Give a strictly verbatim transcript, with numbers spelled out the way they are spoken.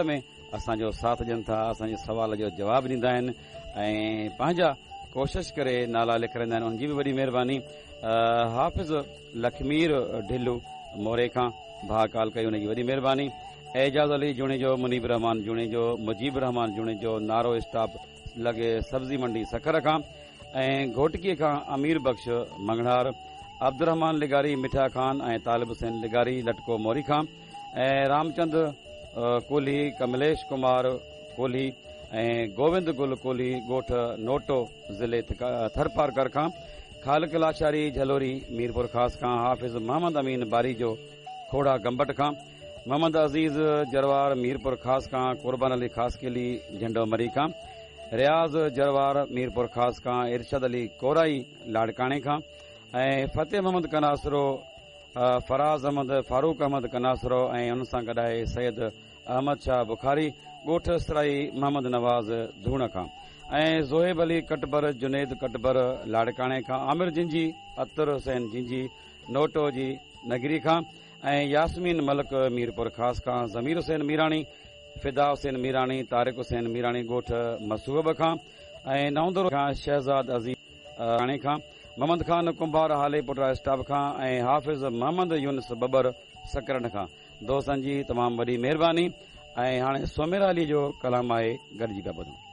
۾ اسان جو ساٿ ڏين ٿا، اسان جي سوال جو جواب ڏيندا آهن ۽ پنهنجا ڪوشش ڪري نالا لکرائيندا آهن، ان جي به وڏي مهرباني. حافظ لکمير ڍلو موري کان ڀاء ڪال ڪئي، ان جي وڏي مهرباني. اعجاز علي جوڻيجو، منيب رحمان جوڻيجو، مجيب رحمان جوڻيجو، نارو اسٽاپ لڳي سبزي منڊي سکر کان ۽ گهوٽڪي کان امير بخش مڱڻهار، عبدالرحمان لغاري مٺا خان ۽ طالب حسين لغاري لٽڪو موري کان ۽ رامچند ڪولهي، ڪمليش ڪمار ڪولهي ۽ گووند گل ڪولهي ڳوٺ نوٽو ضلعي ٿرپارڪر کان، خالق لاشاري جهلوري ميرپور خاص کان، حافظ محمد امين باريجو کوڙا گمبٽ کان، محمد عزيز جروار ميرپور خاص کان، قربان علي خاصخيلي جهنڊو مري کان، رياض جروار ميرپور خاص کان، ارشد علي ڪورائي لاڙڪاڻي کان ۽ فتح محمد ڪناسرو، فراز احمد، فاروق احمد ڪناسرو ۽ ان سان گڏ آهي سيد احمد شاهه بخاري ڳوٺ سرائي محمد نواز ڌوڻ کان ۽ زوهيب علي ڪٽبر، جنيد ڪٽبر لاڙڪاڻي کان، عامر جنجي، عطر حسين جنجي نوٽو جي نگري کان ۽ ياسمين ملڪ ميرپور خاص کان، ضمير حسين ميراڻي، فدا حسين ميراڻي، طارق حسين ميراڻي ڳوٺ مسوب کان ۽ نئوندرو کان شهزاد عزيز راڻي کان، محمد خان ڪنڀار هالي پٽا اسٽاپ کان ۽ حافظ محمد يونس ٻٻر سڪرنڊ کان. دوستن جي تمام وڏي مهرباني. ۽ هاڻي سوميرا علي جو ڪلام آهي، گڏجي پيا ٻڌون.